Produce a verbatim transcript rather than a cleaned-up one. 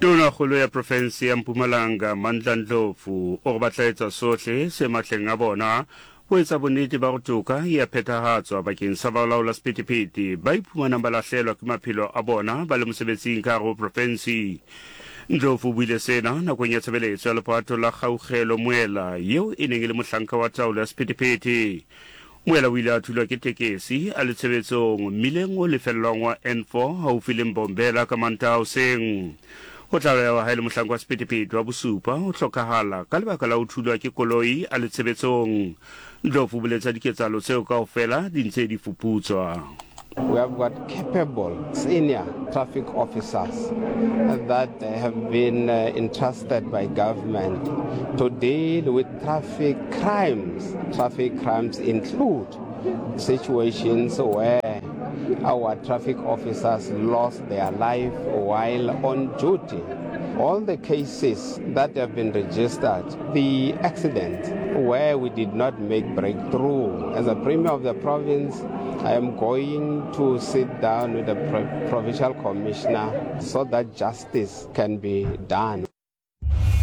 Tonakgolo ya profense ya Mpumalanga Mandla Ndlovu o re ba tla etsa sohle se matleng a bona ho etsa bonnete ba go toka e a phethahatswa bakeng sa balaola sephethephethe ba iphumanang ba lahlelwa ke maphelo a bona ba le mosebetsing ka gare ho profense. Ndlovu o buile sena nakong ya tshebeletso ya lepato la Kgaugelo Moela yeo e neng e le mohlanka wa taolo ya sephethephethe. Moela o ile a thulwa ke tekesi a le tshebetsong mmileng o lefellwang wa N four haufi le Mbombela ka Mantaha hoseng. Ho tlalewa ha e le mohlanka wa sephethephethe wa bosupa ho hlokahala ka lebaka la ho thulwa ke koloi a le tshebetsong. Ndlovu o boletse ha diketsahalo tseo kaofela di ntse di fuputswa. We have got capable senior traffic officers that have been entrusted by government to deal with traffic crimes. Traffic crimes include situations where our traffic officers lost their life while on duty. All the cases that have been registered, the accidents where we did not make breakthrough. As a premier of the province, I am going to sit down with the pro-, provincial commissioner so that justice can be done.